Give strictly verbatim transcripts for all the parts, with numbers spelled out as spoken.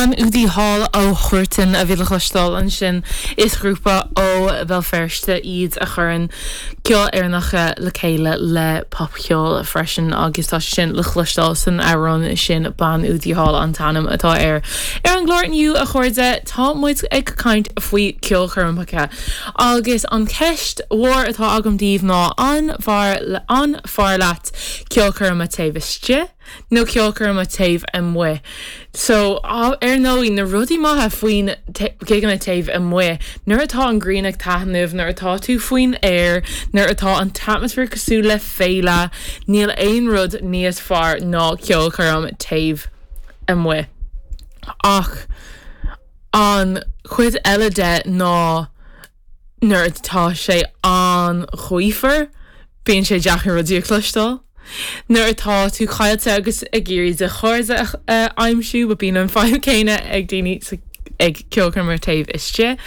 Bean Údaí Thall ó Huartan a bhí le cloisteáil ansin is grúpa ó Bhéal Feirste iad a chuireann ceol Éireannach le chéile le popcheol freisin agus tá sin le cloisteáil san amhrán sin Bean Údaí Thall an t-ainm atá air. Ar an gclár inniu a chairde tá muid ag caint faoi ceolchoirmeacha agus an cheist mhór atá agam daoibh ná an bhfearr an fearr leat ceolchoirm taobh istigh nó ceolchoirm taobh amuigh. So ar ndóigh na rudaí maithe faoin gigeanna taobh amuigh, nuair atá an ghrian ag taitneamh, nuair atá tú faoin aer, nuair atá an t-atmaisféar cosúil le féile, níl aon rud níos fearr ná ceolchoirm taobh amuigh. Ach an chuid eile de ná nuair atá sé an-ghaofar, bíonn sé deacair rudaí a chloisteáil. Nuair atá tú caillte agus ag iarraidh do chairde a aimsiú, ba bíonn an fhadhb céanna ag daoine ag ceolchoirm taobh istigh.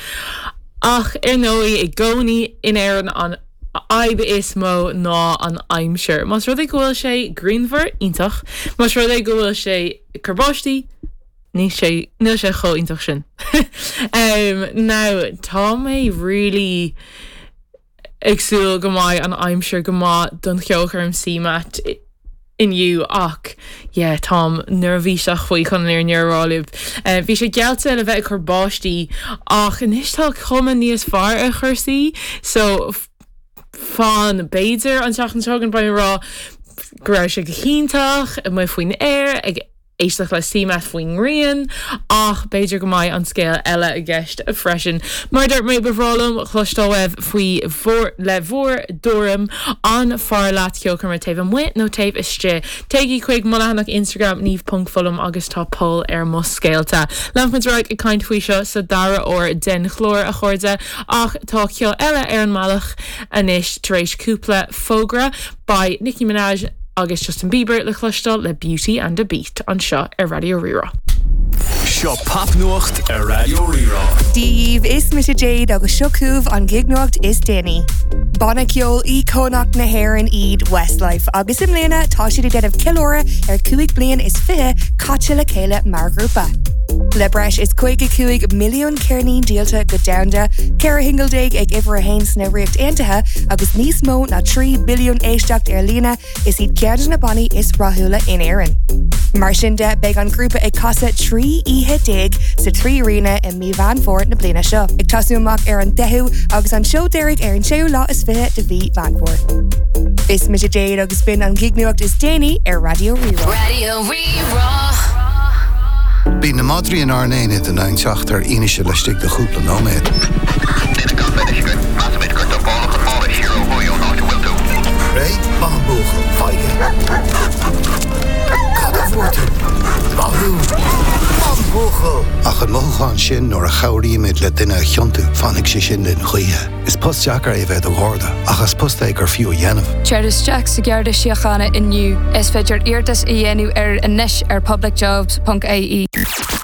Ach ar ndóigh i gcónaí in Éirinn an fhadhb is mó ná an aimsir. Más rud é go bhfuil sé grianmhar iontach, Más rud é go bhfuil sé ag cur báistí, ní sé níl sé chomh iontach sin. um, now tá mé really ag súil go mbeidh an aimsir go maith don cheolchoirm CMAT inniu ach yeah, táim neirbhíseach faoi chun an fhírinne a rá libh. Uh, bhí sé geallta le bheith ag cur báistí ach anois tá cuma níos fearr ar chúrsaí, so fan b'fhéidir an tseachtain seo chugainn beidh rá go raibh sé go hiontach amuigh faoin aer ag éisteacht le CMAT faoin ngrian ach b'fhéidir go mbeidh an scéal eile i gceist freisin. Mar dúirt mé ba bhreá liom cloisteáil uaibh faoi bhur le bhur dtuairim an fearr leat ceolchoirm taobh amuigh nó taobh istigh. Téigí chuig mo leathanach Instagram niamh.fullam agus tá poll ar mo scéalta. Leanfaimid ar aghaidh ag caint faoi seo sa dara huair den chlár a chairde ach tá ceol eile ar an mbealach anois tar éis cúpla fógra beidh Nicki Minaj agus Justin Bieber le cloisteáil le Beauty and a Beat anseo ar Raidió Rí-Rá. Seo popnuacht ar Raidió Rí-Rá. Dia daoibh is mise Jade agus seo chugaibh an gignuacht is déanaí. Banna ceoil íocónach na hÉireann iad Westlife agus i mbliana tá siad ag déanamh ceiliúradh ar cúig bliain is fiche caite le chéile mar ghrúpa. Le breis is caoga cúig milliún ceirnín díolta go domhanda, ceithre shingil déag ag uimhir a haon sna Ríocht Aontaithe agus níos mó ná trí billiún éisteacht ar líne is iad ceann de na bannaí is rathúla in Éirinn. Mar sin de beidh an grúpa ag casadh trí oíche déag sa Trí Aréna i mí Mheán Fómhair na bliana seo. Ag tosú amach ar an deichiú agus an seó deiridh ar an séú lá is fiche de mhí Mheán Fómhair. Is mise Jade agus b'in an gignuacht is déanaí ar Raidió Rí-Rá. Raidió Rí-Rá. Bíonn na madraí inár n-aonad in ann teacht ar fhianaise laistigh de chúpla nóiméad. Duine gan bheith measaimid gur dumpáladh an mála siar ó thuaidh ón áit a bhfuil tú. Réidh maith an buachaill faigh. Cad a bhfuair tú? Maith thú. An buachaill. Ach an mothúchán sin nuair a chabhraímid le duine a chiontú fanfaidh sé sin linn choíche. Is post deacair é bheith i do gharda, ach is post é gur fiú a dhéanamh. Téir isteach sa Gharda Síochána inniu is féidir iarratas a dhéanamh ar anois ar publicjobs.ie.